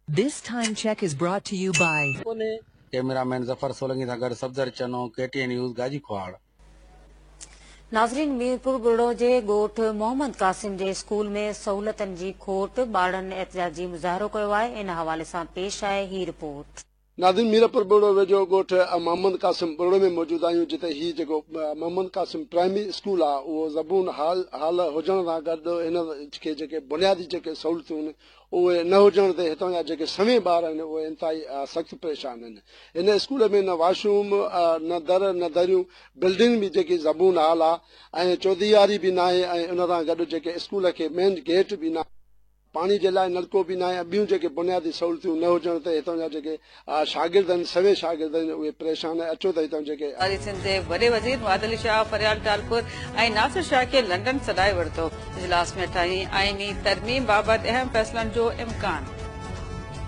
This time check is brought to you by. ڪونهي. Camera man Zafar Solangi سان گڏ Safdar Channo, K T N news, Ghazi Khohar. ناظرين ميرپور ٻرڙو جي ڳوٺ محمد قاسم جي اسڪول ۾ سهولتن جي کوٽ، ٻارڙن احتجاجي مظاهرو ڪيو آهي، ان حوالي سان پيش آهي هي رپورٽ. ناظرين ميرپور ٻرڙو ويجهو ڳوٺ محمد قاسم ٻرڙو ۾ موجود آهيون جتي هي جيڪو محمد قاسم پرائمري اسڪول آهي اهو زبون حال حال هجڻ سان گڏ هن کي جيڪي بنيادي جيڪي سهولتون آهن اهي نه هجڻ تي هتان جا جيڪي سوين ٻار آهن اهي انتهائي سخت پريشان آهن هن اسڪول ۾ نه واش روم نه در نه دريون بلڊنگ به جيڪي زبون حال آهي ۽ چوديواري به ناهي ۽ ان سان گڏ جيڪي اسڪول کي مين گيٽ به ناهي پاڻي جي لاء نلڪو به ناهي ۽ ٻيون جيڪي بنيادي سهولتيون نه هجڻ تي هتان جا جيڪي شاگرد آهن سوين شاگرد آهن اهي پريشان آهن اچو ته هتان جيڪي. واري سنڌ جي وڏي وزير مراد علي شاهه، فريال ٽالپر ۽ ناصر شاهه کي لنڊن سڏائي ورتو، اجلاس ۾ اٺاهين آئيني ترميم بابت اهم فيصلن جو امڪان.